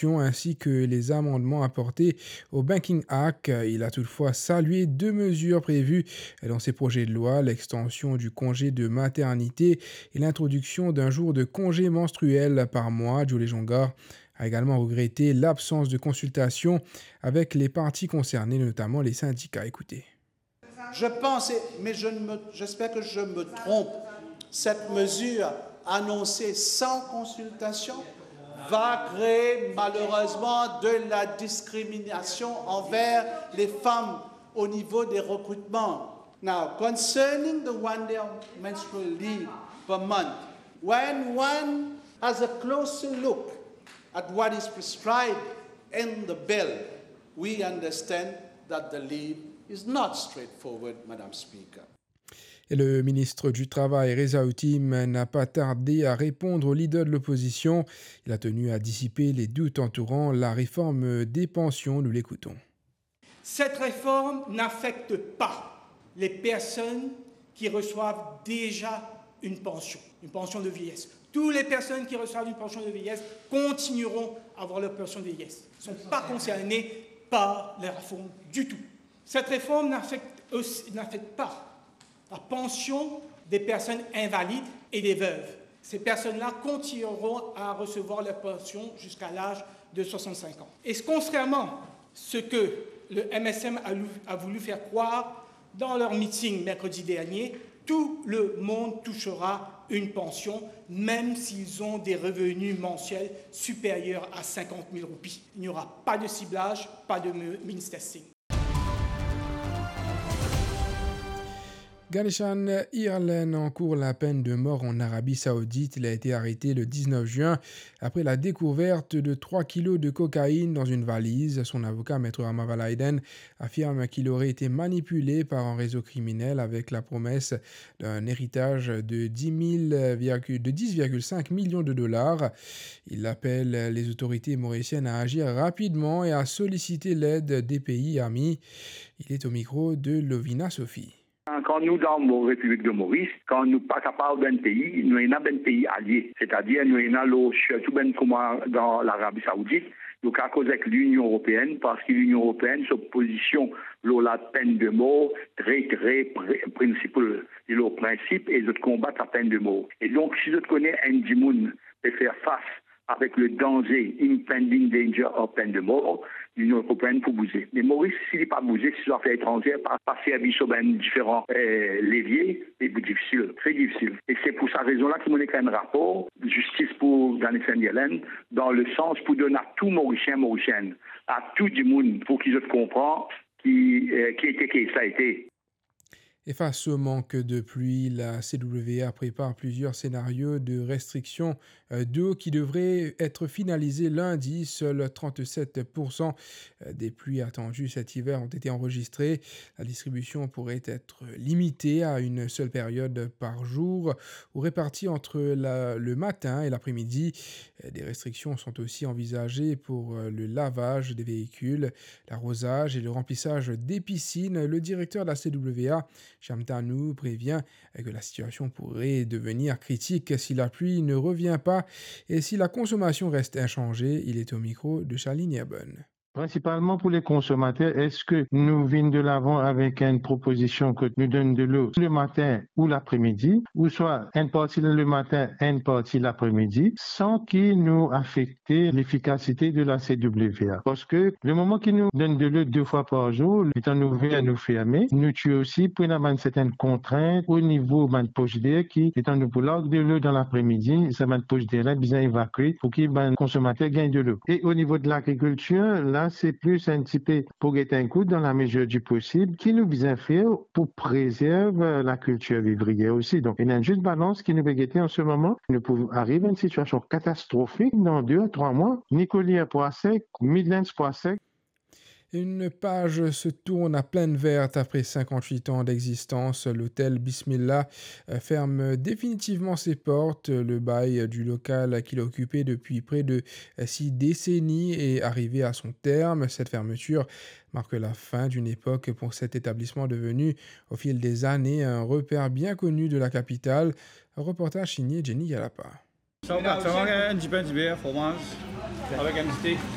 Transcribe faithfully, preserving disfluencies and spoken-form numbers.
ainsi que les amendements apportés au Banking Act. Il a toutefois salué deux mesures prévues dans ces projets de loi, l'extension du congé de maternité et l'introduction d'un jour de congé menstruel par mois. Jules Jonga a également regretté l'absence de consultation avec les parties concernées, notamment les syndicats. Écoutez. Je pense, mais je ne me- j'espère que je me trompe, cette mesure annoncée sans consultation va créer malheureusement de la discrimination envers les femmes au niveau des recrutements. Now, concerning the one day menstrual leave per month, when one has a closer look at what is prescribed in the bill, we understand that the leave is not straightforward, Madame Speaker. Et le ministre du Travail, Reza Hatim, n'a pas tardé à répondre aux leaders de l'opposition. Il a tenu à dissiper les doutes entourant la réforme des pensions. Nous l'écoutons. Cette réforme n'affecte pas les personnes qui reçoivent déjà une pension, une pension de vieillesse. Toutes les personnes qui reçoivent une pension de vieillesse continueront à avoir leur pension de vieillesse. Ne sont pas concernées par la réforme du tout. Cette réforme n'affecte aussi- n'affecte pas la pension des personnes invalides et des veuves. Ces personnes-là continueront à recevoir leur pension jusqu'à l'âge de soixante-cinq ans. Et contrairement à ce que le M S M a lou- a voulu faire croire dans leur meeting mercredi dernier, tout le monde touchera une pension, même s'ils ont des revenus mensuels supérieurs à cinquante mille roupies. Il n'y aura pas de ciblage, pas de me- means testing. Ganeshan Hirlen encourt la peine de mort en Arabie Saoudite. Il a été arrêté le dix-neuf juin après la découverte de trois kilos de cocaïne dans une valise. Son avocat, Maître Rama Valaiden, affirme qu'il aurait été manipulé par un réseau criminel avec la promesse d'un héritage de dix mille virgule- de dix virgule cinq millions de dollars. Il appelle les autorités mauriciennes à agir rapidement et à solliciter l'aide des pays amis. Il est au micro de Lovina Sophie. Kan nou dan Mo-, Repiblik de Moris, kan nou pa kapav bann pei, nou ena bann pei alie. Setadir nou ena lor, sirtou bann kouma dan Larabi Saoudit, nou kapav koz avek Linion Eropeenn, parski Linion Eropeenn, so pozision lor la peine de mort, tre, tre pre-, principle, li lor prinsip, e zot konbat la peine de mort. E donk, si zot kone enn dimoun pe fer fas avek le danze, impending danger of peine de mort, Linion Eropeenn pou bouze. Me Moris, si li pa bouze, si so zafer etranzer pa, pa servi so bann diferan, eh, levie, li pou difisil, tre difisil. E se pou sa rezon la ki mo nek enn rapor, Justice pour Ganeshan Hirlen, dan le sans pou donn a tou Morisien, Morisienn, a tou dimoun, pou ki zot konpran ki, eh, ki ete kes la ete. Et face au manque de pluie, la C W A prépare plusieurs scénarios de restriction, euh, d'eau qui devraient être finalisés lundi. Seuls trente-sept pour cent des pluies attendues cet hiver ont été enregistrées. La distribution pourrait être limitée à une seule période par jour ou répartie entre la, le matin et l'après-midi. Des restrictions sont aussi envisagées pour le lavage des véhicules, l'arrosage et le remplissage des piscines. Le directeur de la C W A, Shyam Tanu, prévient que la situation pourrait devenir critique si la pluie ne revient pas et si la consommation reste inchangée. Il est au micro de Charline Herbonne. Prinsipalman pou le konsomater, eski nou vinn de lavan avek enn propozision kot nou donn delo le matin ou lapremidi, ouswa enn parti le matin, enn parti lapremidi, san ki nou afekte lefikasite de la C W A? Parski le moman ki nou donn delo de fwa par zour, letan nou ouver, nou ferme, nou ti osi pou ena bann sertenn kontrint o nivo bann pos der ki, letan nou pou larg delo dan lapremidi, sa bann pos der la bizin evakwe pou ki bann konsomater gagn delo. E o nivo de lagrikiltir, la se plis enn tipe pou get enn kou, dan lamezir di posib, ki nou bizin fer pou prezerv lakiltir vivriyer osi. Donk, ena enn zis balans ki nou pe gete an se moman. Nou pou ariv enn sitiasion katastrofik dan de a trwa mwa, ni kolier pou sek, Midlands pou sek. Une page se tourne à pleine verte après cinquante-huit ans d'existence. L'hôtel Bismillah, euh, ferme définitivement ses portes. Le bail du local qu'il occupait depuis près de, euh, six décennies est arrivé à son terme. Cette fermeture marque la fin d'une époque pour cet établissement devenu, au fil des années, un repère bien connu de la capitale. Reportage signé Jenny Yalapa. Sa, ou gat sa, enn dipin diber, fromaz, avek enn steak.